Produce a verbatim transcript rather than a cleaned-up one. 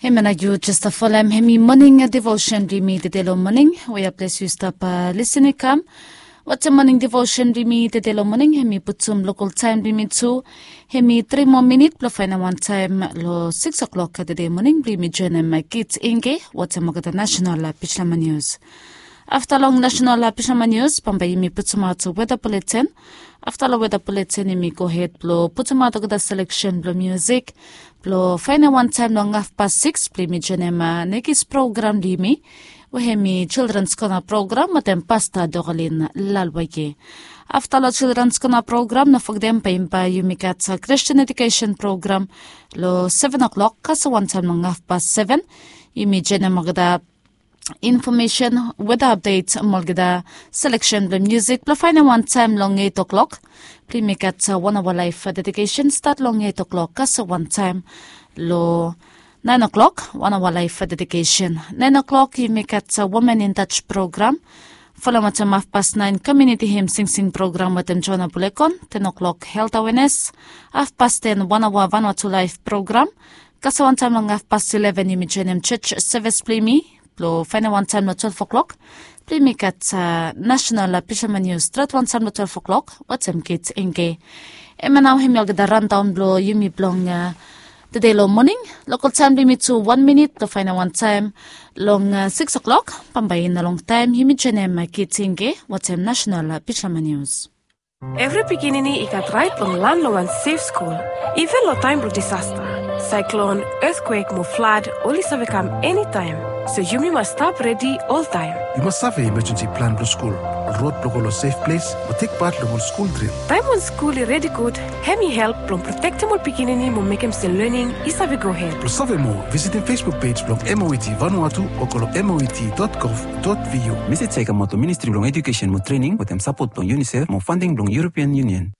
Hemia nao yu jes stap folem, hemi moning devosen blong yumi tede long moning we God bless yu stap lisin i kam. Wetem moning devosen blong yumi tede long moning, hemi putum lokal taem blong yumi tu, hemi tri moa minit blong faenem wantaem long sikis o'klok tede moning blong yumi joenem Kit Inge wetem olgeta nasenal pijama nius. Afta long nasenal pijama nius bambae yumi putumaot weda buleten. Afta long weda buleten yumi gohed blong putumaot olgeta seleksen blong miusik blong faenem wantaem long hafpas sikis blong yumi joenem nekis program blong yumi, we hemi Children's Corner program wetem Pasta Doralin Lalwaye. Afta long Children's Corner program, no fogetem bae yumi gat Christian Education program long seven o'clock, kasem wantaem long hafpas seven yumi joenem olgeta infomesen, weda apdet, mo olgeta seleksen blong miusik blong faenem wantaem long eit o'klok. Blong yumi gat wan aoa laef dedikesen stat long eit o'klok kasem wantaem long naen o'klok, wan aoa laef dedikesen. Naen o'klok yumi gat Women in Touch program, folem wetem hafpas naen komiuniti him singsing program wetem Joana Bulekon. Ten o'klok helt awenes. Hafpas ten wan aoa Vanuatu laef program. Kasem wantaem long hafpas ileven yumi joenem jos sevis blong yumi blong faenem wantaem long twelve o'klok blong yumi gat nasenal pijama nius stret wantaem long twelve o'klok wetem Kit Inge. Hemia nao hemi olgeta randaon blong yumi blong tede long moning. Lokal taem blong yumi tu wan minit blong faenem wantaem long sikis o'klok. Bambae i no longtaem yumi joenem Kit Inge wetem nasenal pijama nius. Evri pikinini i gat raet blong lan long wan sef skul, iven long taem blong disasta, saeklon, etkwek mo flad oli save kam enitaem. So yumi mas stap redi oltaem. Yu mas save imajensi plan blong skul, ol rod blong go long sef ples, mo tek pat long ol skul dril. Taem wan skul i redi gud, hemi help blong protektem ol pikinini mo mekem se lening i save gohed. Blong save moa, visitim Facebook pej blong M O E T Vanuatu o go long M O E T dot gov dot V U. Mesej ya i kamaot long Ministri blong Ejukesen mo Trening wetem sapot blong UNICEF mo fanding blong European Union.